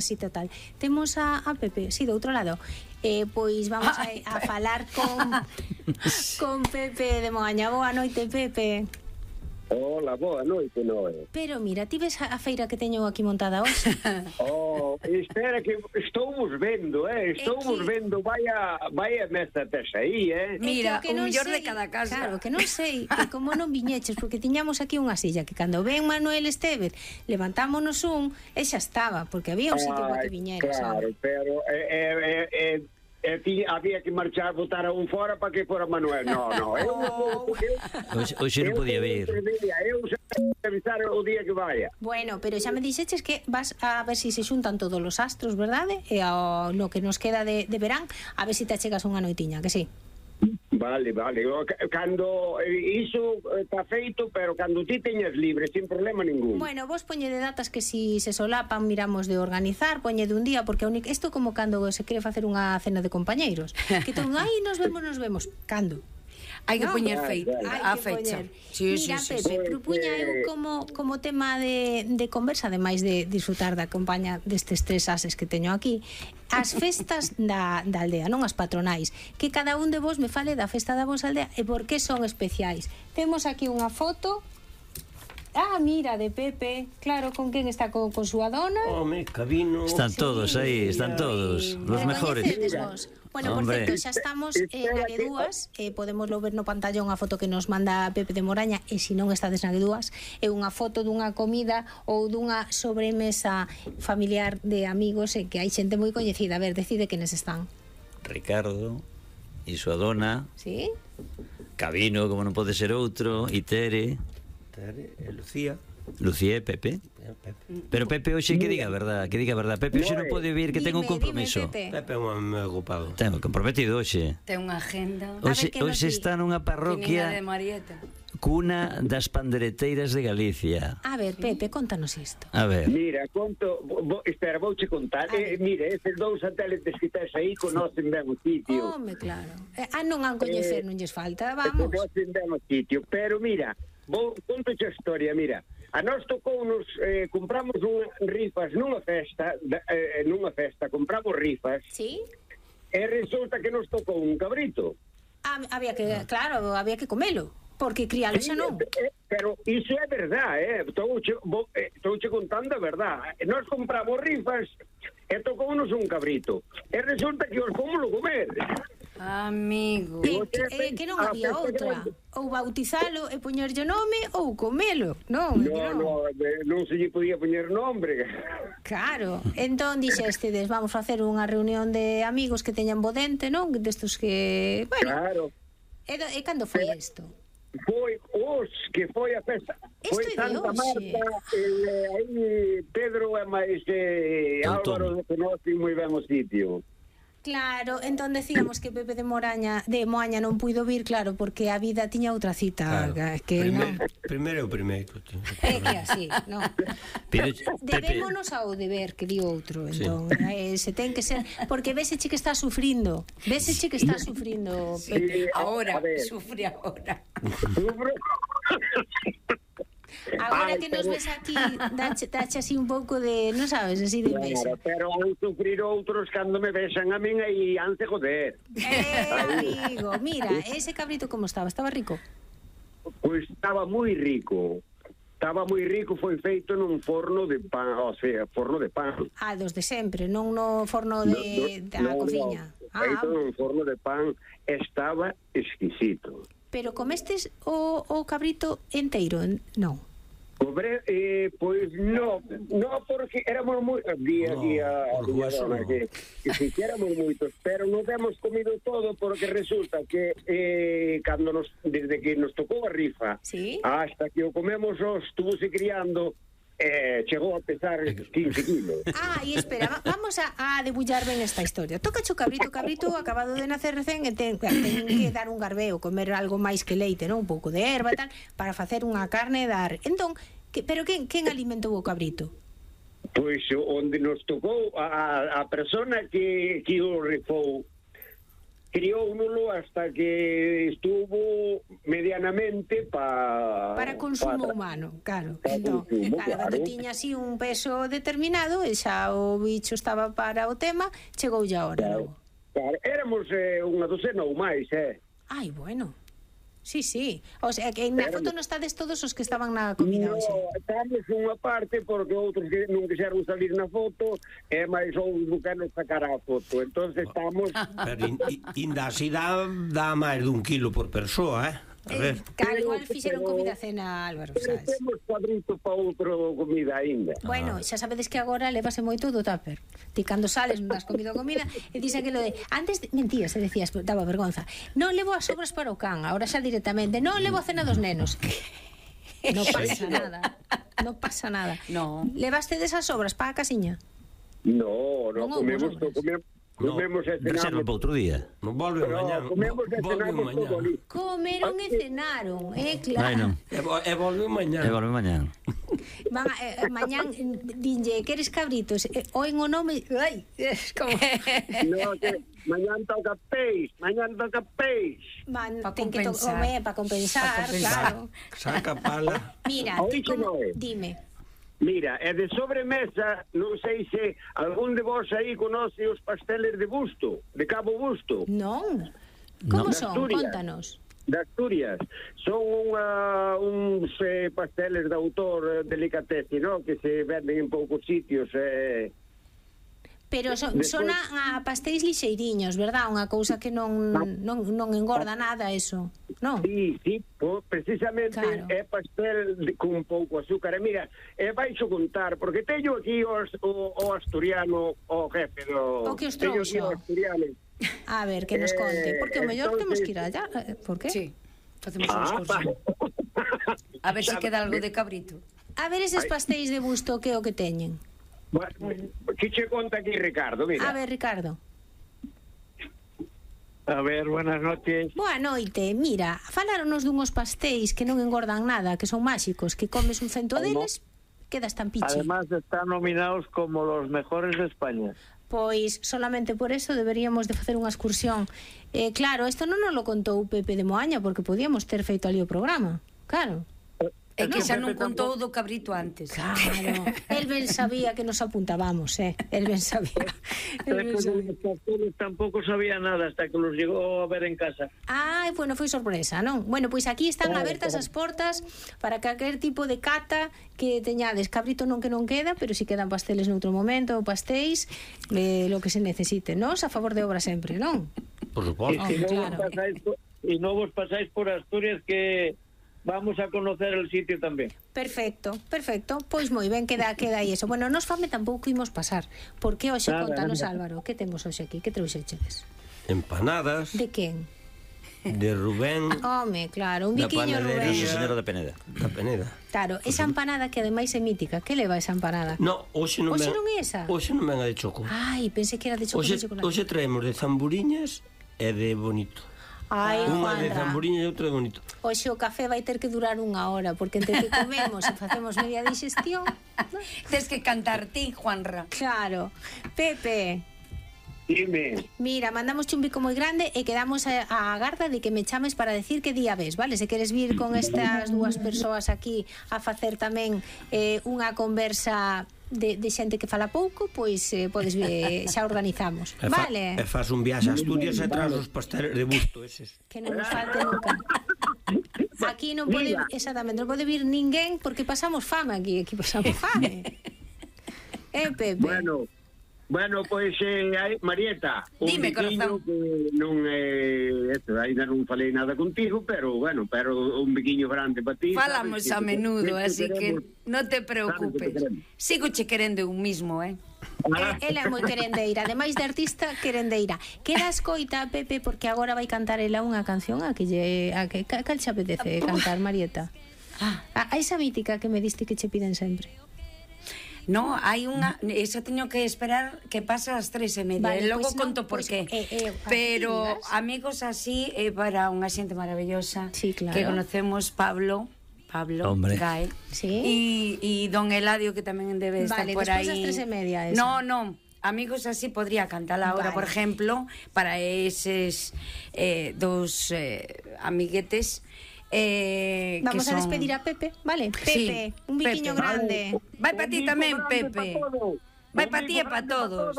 así total. Temos a Pepe, do outro lado. Pois vamos a falar con Pepe de Moaña. Boa noite, Pepe. Hola, boa noite, Noé. Pero mira, ti ves a feira que teño aquí montada hoxe? Espera que estamos vendo, estamos vendo, vaya mesa tes aí, Mira, o mellor de cada casa. Claro, que non sei, que como non viñeches, porque tiñamos aquí unha silla que cando ven Manuel Estévez, levantámonos e xa estaba, porque había un sitio para que viñeras. Claro, pero había que marchar, botar a un fora para que fora Manuel. No, Hoxe non podía vir. Eu xa avisar o día que vaya. Bueno, pero xa me dixeches que vas a ver se xuntan todos os astros, verdade? E no que nos queda de verán, a ver se te achegas unha noitiña, que sí? Vale. Cando iso está feito, pero cando ti teñas libre, sin problema ningún. Bueno, vos poñede datas que si se solapan miramos de organizar, poñede un día, porque isto como cando se quere facer unha cena de compañeiros, que todo, nos vemos, cando? Hai que poñer a fecha. Mira, Pepe, propuña eu como tema de conversa, ademais de disfrutar da compañía destes tres ases que teño aquí, as festas da aldea, non as patronais, que cada un de vos me fale da festa da vosa aldea e por que son especiais. Temos aquí unha foto. Mira, de Pepe, claro, con quen está, con súa dona. Cabino. Están todos aí, están todos, los mejores. Bueno, por certo, xa estamos na Guedúas, podemos ver no pantallón a foto que nos manda Pepe de Moraña, e se non estades na Guedúas, é unha foto dunha comida ou dunha sobremesa familiar de amigos, que hai xente moi coñecida. A ver, decide quenes están. Ricardo e súa dona. Sí? Cabino, como non pode ser outro, e Tere e Lucía e Pepe. Pero Pepe hoxe que diga a verdad, Pepe hoxe non pode vir, que ten un compromiso. Pepe é un home ocupado. Ten comprometido hoxe. Ten unha agenda. Hoxe está nunha parroquia de Marieta, cuna das pandereteiras de Galicia. A ver, Pepe, contanos isto. A ver. Mira, espera, vouche contar. Mira, estes dous satélites que estás aí conocen ben o sitio. Home, claro. Non han coñecer, non lles falta, vamos. Conocen ben o sitio, pero mira, conto a historia, mira. A nós tocounos, compramos rifas nunha festa, compramos rifas. Sí? E resulta que nos tocou un cabrito. Había que comelo, porque crialo xa non. Pero iso é verdade, estouche contando a verdade. Nós compramos rifas e tocounos un cabrito. E resulta que os fomos comer. Amigo. Que non había outra. Ou bautizalo e poñerlle nome ou comelo. Non se lle podía poñer nombre. Claro. Entón dixestedes, vamos facer unha reunión de amigos que teñan bo dente, non? Destos que... Claro. E cando foi isto? Foi a festa. Foi Santa Marta, aí Pedro e máis Álvaro conocen moi ben o sitio. Claro, entón decíamos que Pepe de Moaña non puido vir, claro, porque a vida tiña outra cita. Primeiro. É que así, non? Debémonos ao deber, que di outro, entón. Se ten que ser, porque véseche que está sufrindo. Pepe. Ahora, sufre ahora. Agora que nos ves aquí, dache así un pouco de, non sabes, así de invexa. Pero han sufrir outros cando me besan a min e antes joder. Amigo, mira, ese cabrito como estaba? Estaba rico? Pois estaba moi rico. Foi feito nun forno de pan, forno de pan. Dos de sempre, non no forno da cociña. Feito nun forno de pan, estaba exquisito. Pero comestes o cabrito enteiro? Non. Pois non, porque éramos moi día que éramos moitos, pero non hemos comido todo, porque resulta que desde que nos tocou a rifa, ¿sí? Hasta que o comemos estuvose criando, chegou a pesar 15 kilos. E espera, vamos a debullar ben esta historia. Toca o cabrito acabado de nacer recén, e ten que dar un garbeo, comer algo máis que leite, non? Un pouco de erva e tal, para facer unha carne e dar. Entón, pero quen alimentou o cabrito? Pois onde nos tocou a persona que o rifou crióuno hasta que estuvo medianamente para consumo humano, claro. Entón, claro, tiña así un peso determinado e xa o bicho estaba para o tema, chegoulle a hora, logo. Claro, éramos unha docena ou máis, Ai, bueno. Sí, sí. O sea, que na foto non estades todos os que estaban na comida hoxe. No, estamos unha parte porque outros que non quixeron salir na foto e máis outros que non sacar a foto. Entonces estamos... Pero ainda así dá máis dun kilo por persoa, A ver. Claro, igual fixeron comida cena, Álvaro, sabes? Temos cuadrito para outro comida ainda. Bueno, xa sabedes que agora levase moito do tupper. Ti cando sales non das comido comida e dis aquilo de... Antes mentías e decías, daba vergonza. Non levo as sobras para o can, agora xa directamente. Non levo a cena dos nenos. Non pasa nada. Non pasa nada. No. Levaste desas sobras para a casiña? No, comemos e Reserva cenamos. para outro día. Non volve mañá. Comemos e cenamos todo ali. Comeron e cenaron, claro. Ai, non. E volve mañá. E volve mañán. Mañán dinlle, queres cabritos? Oen o nome... Ai, como... No, que mañán toca peix. Pa Ten que compensar. comer para compensar, claro. Saca pala. Mira, ti como... Dime. Mira, e de sobremesa, non sei se algún de vos aí conoce os pasteles de Busto, de Cabo Busto. Non. Como De son? Asturias. Contanos. De Asturias. Son uns pasteles de autor delicatesse, ¿no? Que se venden en poucos sitios. Pero son a pastéis lixeiriños, verdad? Unha cousa que non engorda nada, eso. Non? Sí, precisamente Claro. é pastel con pouco azúcar. E mira, baixo contar, porque teño aquí o asturiano, o jefe do... O que os teño trouxo. aquí o asturiano. A ver, que nos conte. Porque o mellor temos que ir allá. Por qué? Sí, facemos unha excursión. A ver se queda algo de cabrito. A ver eses pastéis de Busto, que é o que teñen. Que che conta aquí, Ricardo? Mira. A ver, Ricardo. A ver, buenas noches. Boa noite. Mira, faláronos dunhos pastéis que non engordan nada, que son máxicos, que comes un cento deles, quedas tan piche. Además están nominados como los mejores de España. Pois solamente por eso deberíamos de facer unha excursión. Claro, isto non nos lo contou Pepe de Moaña, porque podíamos ter feito ali o programa. Claro. É que xa non contou do cabrito antes. Claro. El ben sabía que nos apuntábamos, El ben sabía. Los pasteles tampoco sabía nada hasta que los llegó a ver en casa. Ai, bueno, foi sorpresa, non? Bueno, pois aquí están abertas as portas para calquer tipo de cata que teñades. Cabrito non que non queda, pero si quedan pasteles noutro momento, ou pastéis, lo que se necesite. Nos a favor de obra sempre, non? Por suposto. Y no vos pasáis por Asturias, que vamos a conocer el sitio tamén. Perfecto. Pois moi ben, queda aí eso. Bueno, nos fame tampouco imos pasar. Porque hoxe, contanos, Álvaro, que temos hoxe aquí? Que trouxechedes? Empanadas De quen? de Rubén Home, claro, un biquiño panadería. Rubén. Nosa Señora da Peneda. da Peneda. Claro, esa empanada que ademais é mítica. Que leva esa empanada? No, hoxe non Hoxe ven. non é esa? Hoxe non ven a de choco. Ai, pensei que era de chocolate. Hoxe traemos de zamburiñas e de bonito. Ai, Unha de Juanra. zamburiñas e outra de bonito. Hoxe o café vai ter que durar 1 hora, porque entre que comemos e facemos media digestión. Tes que cantar ti, Juanra. Claro. Pepe, Dime. mira, mandamos un bico moi grande e quedamos a garda de que me chames para decir que día ves, vale? Se queres vir con estas dúas persoas aquí a facer tamén unha conversa de xente que fala pouco, pois podes vir, xa organizamos, vale? E faz un viaxe a Asturias e tras os pasteles de Busto eses. Que non nos falte nunca. Aquí non pode, exactamente, non pode vir ninguén porque pasamos fame aquí pasamos fame. Pepe. Bueno, pois, Marieta, Dime, biquiño corazón. que non ainda non falei nada contigo, pero un biquiño grande para ti. Falamos sabes, a menudo, así que non te Sabes preocupes. que queremos. Sigo che querendo un mismo, Ela é moi querendeira, ademais de artista, querendeira. Queda escoita, Pepe, porque agora vai cantar ela unha canción a que cal xe apetece cantar, Marieta? A esa mítica que me diste que che piden sempre. No, hai unha... Esa teño que esperar que pasa as 3:30. Vale, Logo pois conto non, por pois, qué. así Pero digas. amigos así é para unha xente maravillosa. Sí, claro. Que conocemos Pablo Hombre. Gae. Sí. E don Eladio, que tamén debe estar Vale, por despois aí. das 3:30 esa. No, amigos así podría cantar ahora, por ejemplo, para eses dos amiguetes. Vamos a despedir a Pepe, vale? Pepe, un biquiño grande. Vai para ti tamén, Pepe. Vai para ti e para todos.